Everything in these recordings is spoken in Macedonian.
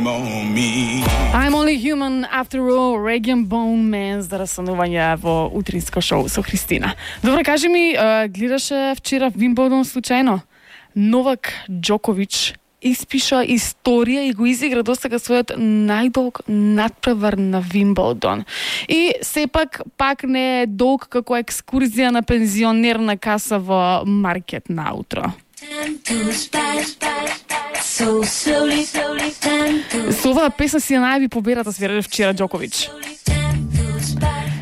I'm only human after all, Reggae Bone Man за разсонување во утринско шоу со Христина. Добро, кажи ми, гледаше вчера Вимблдон случајно? Новак Џоковиќ испиша историја и го изигра досега својот најдолг надпревар на Вимблдон. И сепак пак не е долг како екскурзија на пензионерна каса во маркет наутро. Со оваа песна си ја најави победата, свиреше вчера Џоковиќ.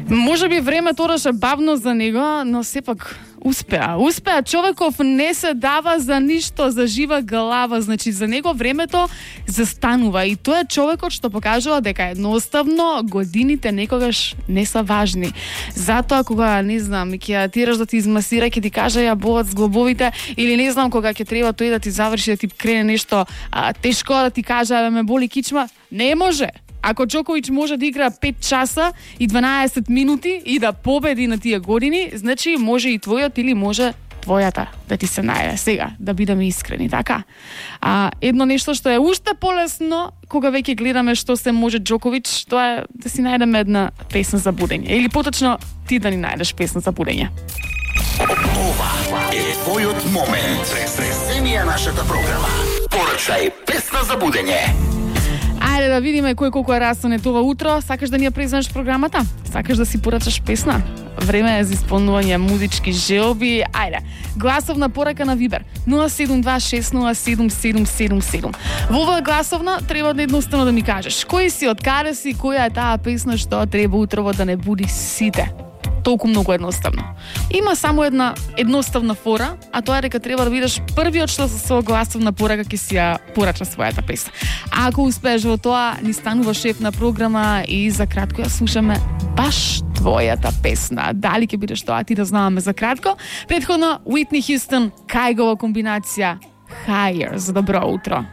Може би времето одеше бавно за него, но сепак успеа. Човеков не се дава за ништо, за жива глава, значи за него времето застанува и тоа е човекот што покажува дека едноставно годините некогаш не се важни. Затоа кога, не знам, ќе тираш да ти измасира, ќе ти каже ја болат зглобовите, или не знам кога ќе треба тој да ти заврши, да ти крене нешто тешко, да ти каже ме боли кичма, не може. Ако Џоковиќ може да игра 5 часа и 12 минути и да победи на тие години, значи може и твојот или може твојата да ти се најде. Сега, да бидеме искрени, така? Едно нешто што е уште полесно, кога веќе гледаме што се може Џоковиќ, тоа е да си најдеме една песна за будење. Или поточно ти да ни најдеш песна за будење. Ова е твојот момент. Сресенија нашата програма. Порачај песна за будење. Ајде да видиме кој колку е расонет ова утро. Сакаш да ни ја преземеш програмата? Сакаш да си порачаш песна? Време е за исполнување музички желби. Ајде, гласовна порака на Вибер 072607777. Во оваа гласовна треба да едноставно да ми кажеш кој си, од каде си, која е таа песна што треба утрово да не буди сите. Толку многу едноставно. Има само една едноставна фора, а тоа е дека треба да бидеш првиот што со своја гласовна порака ќе си ја порача својата песна. А ако успееш во тоа, ни станува шеф на програма и за кратко ја слушаме баш твојата песна. Дали ќе бидеш тоа, ти да знаваме за кратко. Претходно Уитни Хјустон, Кајгова комбинација Higher за добро утро.